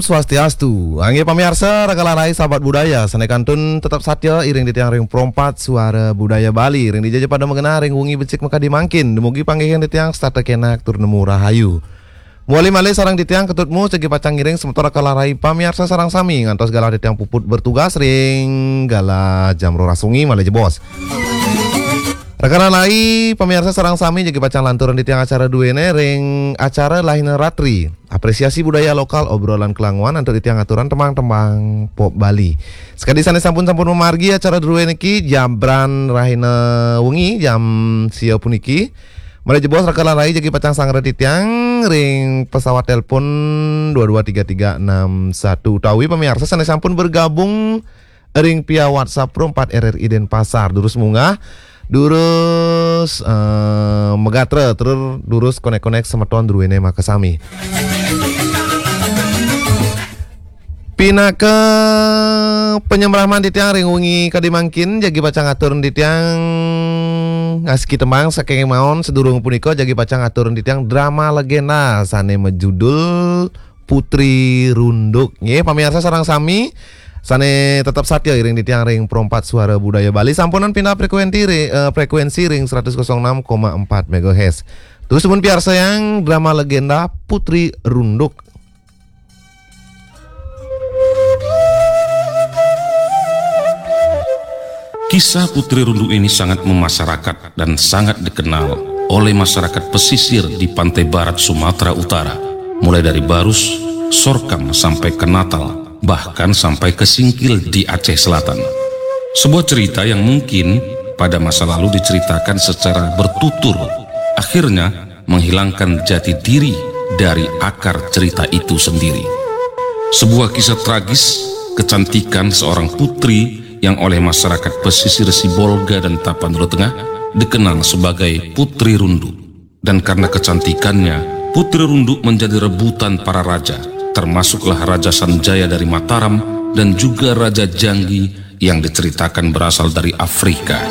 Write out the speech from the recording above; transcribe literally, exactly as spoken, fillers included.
Swastiastu. Inggih pamiarsa, raga larai sahabat budaya, sané kantun tetep satia iring titiang ring Pro empat Suara Budaya Bali, ring dija ja pada magenah ring wengi becik makadi mangkin. Dumugi panggihin titiang setata kenak tur nemu rahayu. Mawali malih sareng titiang Ketut Mus jagi pacang ngiring semeton raga larai pamiarsa sareng sami ngantos galah titiang puput bertugas ring galah jam roras wengi malih jebos. Raga larai pamiarsa sareng sami jagi pacang lanturang titiang acara duéné ring acara Lahina Ratri. Apresiasi budaya lokal, obrolan kelanguan antuk titiang aturang tembang-tembang pop Bali. Sakadi sané sampun-sampun mamargi acara drué niki, jabran rahina wengi jam sia puniki. Malih jebos raga larai jagi pacang sangra titiang ring pesawat telepon dua dua tiga tiga enam satu utawi pamiarsa sané sampun bergabung ring via WhatsApp Pro empat R R I Denpasar. Durus munggah, durus, eh, magatra, tur durus konek-konek semeton druéné makasami. Pinaka panyembraman titiang ring wengi kadi mangkin, jagi pacang atur titiang ngastiti tembang saking maon. Sadurung punika jagi pacang atur titiang drama legenda sané majudul Putri Runduk. Nggih, pamiarsa sareng sami sané tetep satia iring titiang ring Pro empat Suara Budaya Bali. Sampunang pindah frekuensi ri-, eh, frekuensi ring seratus kosong enam koma empat megahertz. Terus pun piarsayang drama legenda Putri Runduk. Kisah Putri Runduk ini sangat memasyarakat dan sangat dikenal oleh masyarakat pesisir di pantai barat Sumatera Utara, mulai dari Barus, Sorkang sampai ke Natal, bahkan sampai ke Singkil di Aceh Selatan. Sebuah cerita yang mungkin pada masa lalu diceritakan secara bertutur, akhirnya menghilangkan jati diri dari akar cerita itu sendiri. Sebuah kisah tragis kecantikan seorang putri yang oleh masyarakat pesisir Sibolga dan Tapanuli Tengah dikenal sebagai Putri Runduk. Dan karena kecantikannya, Putri Runduk menjadi rebutan para raja, termasuklah Raja Sanjaya dari Mataram dan juga Raja Janggi yang diceritakan berasal dari Afrika.